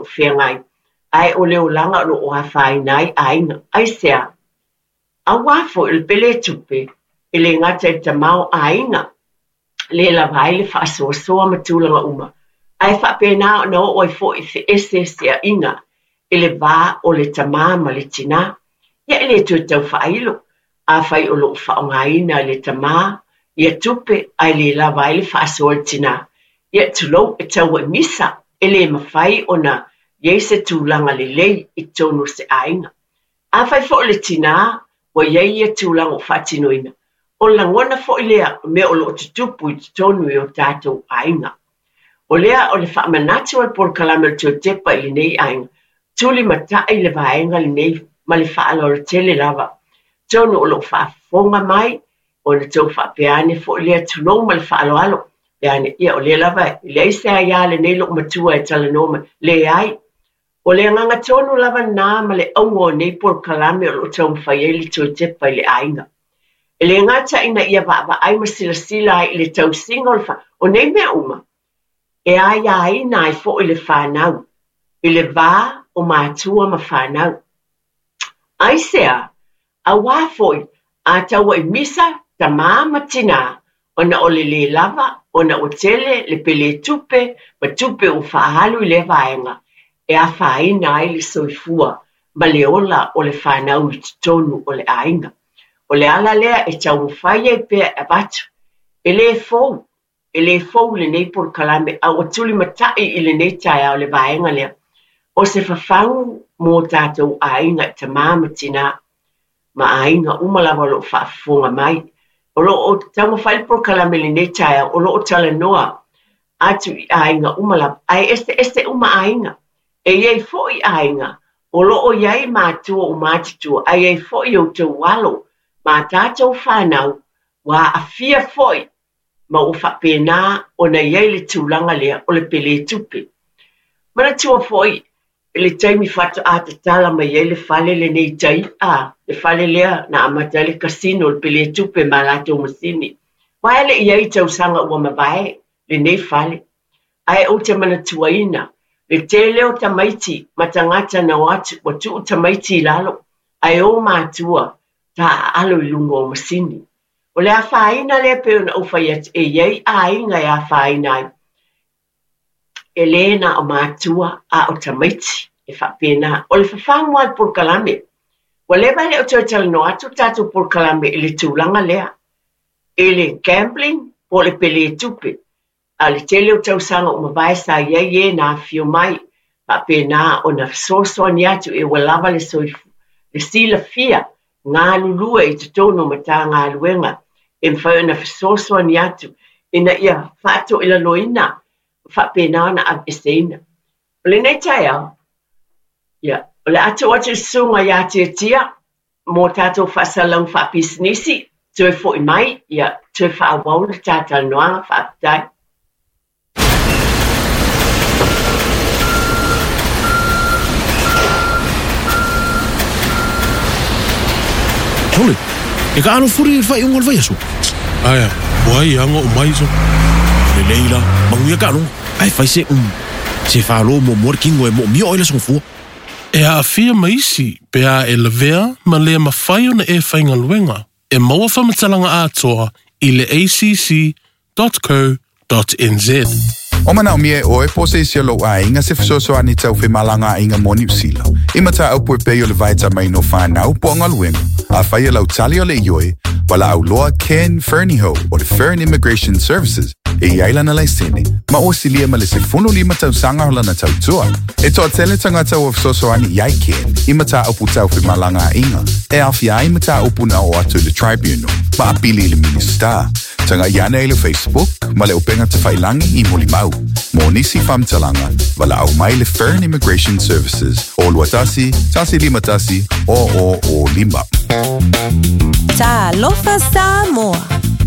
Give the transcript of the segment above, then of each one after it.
lo o feagai, ae o le olaga o lo o afaina ai aiga. Aisea? Auā foi o le peletupe e le gata i le tamaoaiga le lava ai le faasoasoa ma tulaga uma, ae faapena ona oo ai foi i feeseeseaiga i le va o le tamā ma le tinā. Ia e le toe tau faailo, afai o lo o faaaogaina e le tamā ia tupe ae le lava ai le faasoa a le tinā, ia tulou, e tau ai misa, e le mafai ona i ai se tulaga lelei i totonu o se aiga. Afai foi o le tinā ua i ai ia tulaga ua faatinoina, o le lagona foi lea o mea o lo o tutupu i totonu i o tatou aiga. O lea o le faamanatu a le polokalame o le Toe Tepa i lenei aiga, tulimatai le vaega lenei ma le faaaloalo tele lava. Atonu o lo o faafofoga mai, ona tou faapea ane foi lea, tulou ma le faaaloalo, pe ane, ia o lea lava e leai se aia a lenei loomatua e talanoa mai. Leai. O le agaga tonu lava lena ma le auga o nei polokalame o lo o taumafai ai le Toe Tepa i le Aiga. E le gata ina ia vaavaai ma silasila ai i le tausiga o le fa, o nei mea uma, e aiaina ai foi le fanau i le va o matua ma fanau. Aisea? Auā foi, a tauai misa tamā ma tinā, ona o le lē lava, ona ua tele le pele tupe ma tupe ua faaalu i lea vaega e afaina ai le soifua ma le ola o le fanau i totonu o le aiga. O le ala lea e taumafai ai pea e avatu, e lē fou, E le fou lenei polokalame a ua tulimatai i lenei taeao le vaega lea o se fafagu mō tātou aiga i tamā ma tinā ma aiga uma lava o lo o faafofoga mai. O lo o taumafai le polokalame i lenei taeao o lo o talanoa atu i aiga uma lava, ae eseese uma aiga. E i ai foi aiga o lo o i ai matua ua matutua, ae i ai foi outou alo ma a tātou fanau ua aafia foi ma ua faapena ona i ai le tulaga lea o le peletupe. Manatua foi i le taimi faatoa tatala mai ai le fale lenei i tai, a, le fale lea na amata ai le casino, le peletupe ma latou masini. Aua e le i i ai i tausaga ua mavae lenei fale. Ae ou te manatuaina le tele o tamaiti ma tagata na o atu ua tuu tamaiti i lalo ae o matua taaalo i luga o masini. O le afaina lea pei ona ou fai atu, e i ai aiga e afaina ai, e lē na o matua a o tamaiti e faapena. O le fafagu lava o le polokalame, ua leva e le o toe talanoa atu le tatou polokalame i le tulaga lea, i le gambling po o le peletupe. A o le tele o tausaga ua mavae sa i ai e na afifio mai, faapena ona fesoasoani atu e ua lava le soifua, le silafia galulue i totonu o Matagaluega e mafai ona fesoasoani atu ina ia faatoilaloina ma faapena ona aveeseina. O lenei taeao, ia, o le a tuu atu i le Susuga ia Tiatia mo tatou faasalalauga faapisinisi, toe foi mai, ia, toe faaauau le ta talanoaga. Faafetai. Sole, e ka alo furi i le faaiuga o le vaiaso. Aea, ua ai aga o mai so. Lelei la, manuia ka aloga. Ae fai se se falo muamua le kino e moomia oe le aso gafua. E aafia ma isi pe a e lavea ma le mafai ona e faigaluega, e maua faamatalaga atoa i le acc.co.nz. O manaomia e oe po o se isi o lou aiga se fesoasoani tau femalagaaiga mo Niu Sila, i mataupu e pei o le vaetamaina o fanau po o galuega, afai e lau tali o le ioe, valaau loa Ken Fernihough o le Fern Immigration Services e i ai lana laisene ma ua silia ma le 15 tausaga o lana tautua. E toatele tagata ua fesoasoani i ai Ken i mataupu tau femalagaaiga e aofia ai mataupu na oo atu i le Tribunal ma apili i le Minisita. Tagai ane i le Facebook ma le upega tafailangi i Molimau. Mo nisi faamatalaga, valaau mai le Fern Immigration Services o 21 151 0005. Talofa Samoa!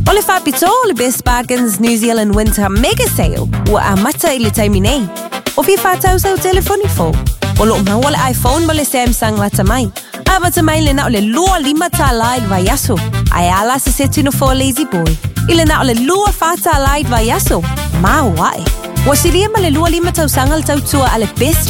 O le faapitoa o le Best Bargains New Zealand Winter Mega Sale ua amata i le taimi nei. O fia whātau sau telefoni fou. O loo maua le iPhone ma le Samsung lata mai. Amata mai le na o le 25 tālā i le vaiaso. Ae a la se seti no for Lazy Boy. I le na o le 24 tālā i le vaiaso. Mau ae. Ua silia ma le 25 tausaga le tautua a le Best